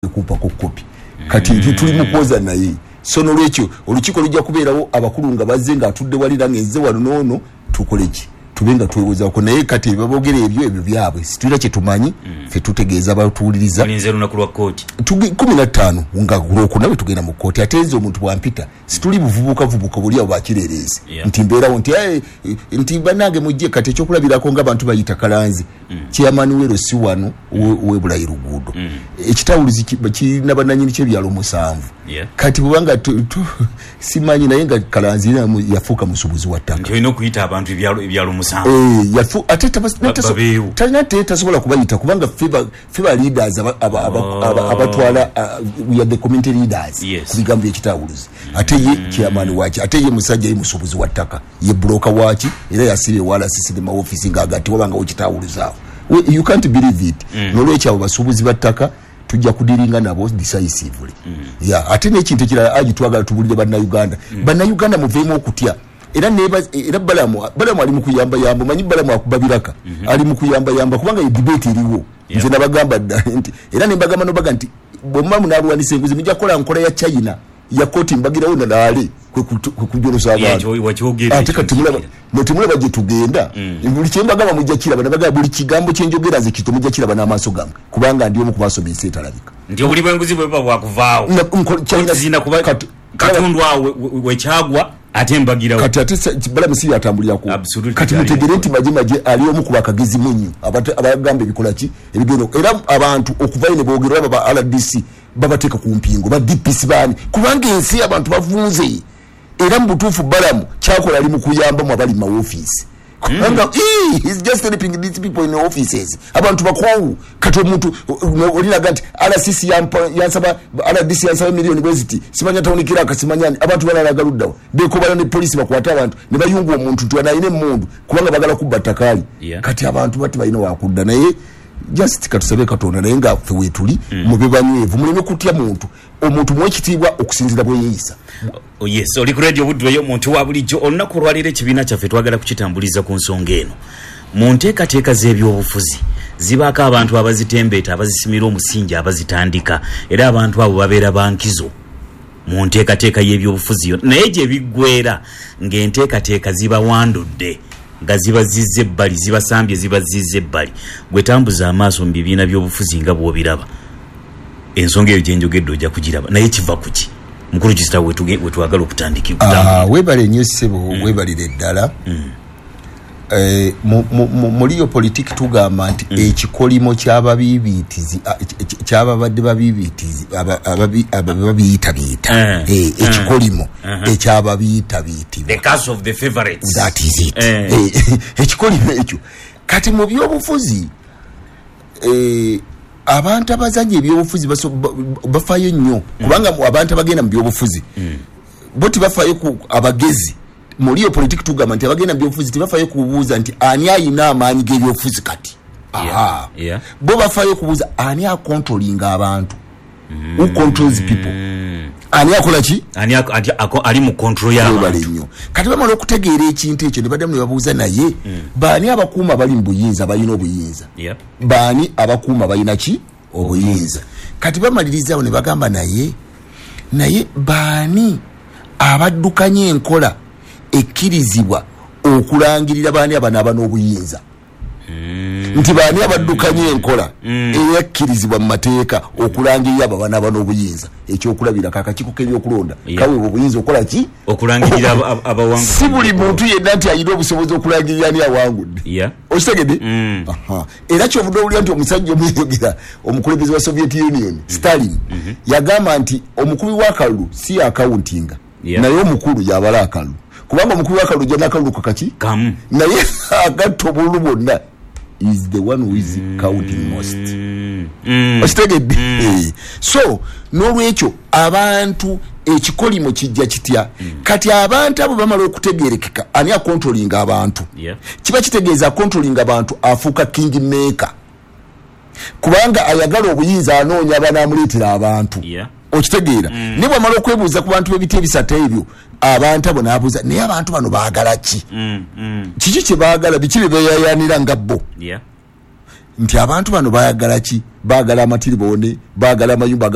Kumpako kopi kati mm. Tuli mukwoza naye. So nolwekyo olukiiko lujja kubeerawo, abakulu nga bazze, nga atudde walira ngaezze wano noono, tukoleki? Tube nga twewozaako naye. Kati babogera ebyo, ebyo byabwe, situlina kyetumanyi. Ffe tutegeeza batuwuliriza. Olinze lunaku lwa kooti. 15 nga Lwokuna bwe tugenda mu kooti. Ate nze omuntu bwampita, situli buvubuka vubuka buli abo bakireerezi nti mbeerawo nti, "Eh, eh, nti bannange mujje." Kati ekyokulabirako nga abantu bayita Kalanzi, chairman wero si wano ow'ebulayi luguudo, ekitawuluzi kirina bannanyini kyebyalo 7. Kati bwebanga simanyi, naye nga Kalanzi era yafuuka musuubuzi wa ttaka. Nti olina okuyita abantu ebyalo 7. Eh, ate babeewo. Talina, te tasobola kubayita kubanga ffe ba leaders abatwala, we are the community leaders ku bigambo byekitawuluzi. Ate ye chairman waki? Ate ye musajja ye musuubuzi wa ttaka, ye broker waki, era yasibye ewala sisi ne maofisi ng'agati wabangawo kitawuluzi awo. You can't believe it. Nolwekyo abo basuubuzi ba ttaka tujja kudiringa nabo decisively. Yeah, ate n'ekintu ekirala agi twagala tubulire Bannayuganda. Bannayuganda, muveemu okutya. Era era Balamu ali mu kuyambayamba. Omanyi Balamu akuba biraka, ali mu kuyambayamba kubanga ye debate eriwo. Nze nabagamba dda nti, era nembagamba nobaga nti bwemuba munalwanisa enguzi, mujja kukola nkola ya China ya kooti mbagirawo nalaale kwe kujolosa abantu. Wakyogera. Ate ekyo kati mulaba nkijjukira. Mwe temulaba gye tugenda. Buli kyembagamba mujja kiraba. Nabagamba buli kigambo kyenjogera nze kito mujja kiraba n'amaaso gammwe, kubanga ndi omu ku basoma ensi etalabika. Nti obuli bw'enguzi bwe buba bwakuvaawo, China kooti zirina kuba katundu awo wekyagwa ate mbagirawo. Kati ate Balamu si yatambulirako. Kati mutegere nti Maje ali omu ku bakagezi munyu abagamba ebikola ki ebigendo, era abantu okuvayo ne boogera oba ba RDC babateeka ku mpingo, ba DPC baani, kubanga ensi abantu bavunze. Era mu butuufu Balamu kyakola ali mu kuyambamu abali mu mawofiisi, kubanga he's just helping these people in the offices. Abantu bakoowu. Kati omuntu olinaga nti RCC yansaba, RDC yansaba miliyoni bweziti, simanya town clerk, simanya ani. Abantu balalaga luddawa, bekobala ne polisi bakwate abantu ne bayunga omuntu nti wano alina emmundu kubanga bagala kubba ttakaali. Kati abantu bati balina wakudda, naye just katusabe Katonda. Naye nga ffe weetuli, mube banywevu, muleme kutya muntu. Omuntu muwe ekitiibwa okusinziira bwe yeeyisa. Oh yes, oli ku Radio Buddu ey'omuntu wa bulijjo. Olunaku olwaleero ekibiina kyaffe twagala kukitambuliza ku nsonga eno. Mu nteekateeka z'ebyobufuzi zibaako abantu abazitembeeta, abazisimira omusingi, abazitandika, era abantu abo babeera ba nkizo mu nteekateeka y'ebyobufuzi yona. Naye gye biggweera ng'enteekateeka zibawandudde, nga zibazizza ebbali, zibasambye, zibazizza ebbali. Gwe tambuza amaaso mu bibiina by'obufuzi nga bw'obiraba, ensonga eyo gye njogedde ojja kugiraba. Naye kiva ku ki? Mukulu Kisita, wetwagala okutandika okutambulira. Weebale nnyo ssebo, weebalire ddala. Mu real politic tugamba nti ekikolimo ky'ababiibitizi, ky'ababadde babiibitizi, ababiitabiita. Ekikolimo ekyababiitabiitibwa. The curse of the favorites. That is it. Ekikolimo ekyo. Kati mu byobufuzi, abantu abazanya ebyobufuzi bafaayo nnyo, kubanga abantu abagenda mu byobufuzi bo tebafaayo ku abagezi. Mu real politic tugamba nti abagenda mu byobufuzi tebafaayo kubuuza nti ani ayina amaanyi g'ebyobufuzi kati. Aha. Bo bafaayo kubuuza ani akontrolinga abantu, who controls people, ani akola ki. Ani ali mu control webale y'abantu. Nnyo. Kati bamala okutegeera ekintu ekyo ne baddamu ne babuuza, naye baani abakuuma bali mu buyinza, balina obuyinza? Baani abakuuma balina ki obuyinza? Kati bamalirizawo ne bagamba, naye baani abaddukanya enkola ekkirizibwa okulangirira baani abanaaba n'obuyinza? Nti baani abaddukanya enkola eyakkirizibwa mu mateeka okulangirira abo abanaaba n'obuyinza? Ekyokulabirako, akakiiko k'ebyokulonda kaweebwa obuyinza okukola ki? Okulangirira abawanguzi. Si buli muntu yenna nti alina obusobozi okulangirira ani awangudde. Okitegedde? Aha. Era kyovudde owulira nti omusajja omuyogera, omukulembeze wa Soviet Union, Stalin, yagamba nti omukubi w'akalulu si akawuntinga, naye omukulu yabala akalulu, kubanga omukubi w'akalulu ojja n'akalulu kakaki kamu, naye agatta obululu bwonna is the one who is counting most. Okitegedde? So n'olwekyo abantu ekikolimo kijja kitya? Kati abantu abo bamala okutegerekeka ani akontrolinga abantu, kiba kitegeeza akontrolinga abantu afuuka king maker, kubanga ayagala obuyinza anoonya abanaamuleetera abantu. Okitegeera? Naye bwamala okwebuuza ku bantu b'ebiti ebisatu ebyo, abantu abo n'abuuza, naye abantu bano baagala ki? Kiki kye baagala? Biki bye beeyayaanira nga bo? Nti abantu bano baagala ki? Baagala amatiriboone, baagala amayumba.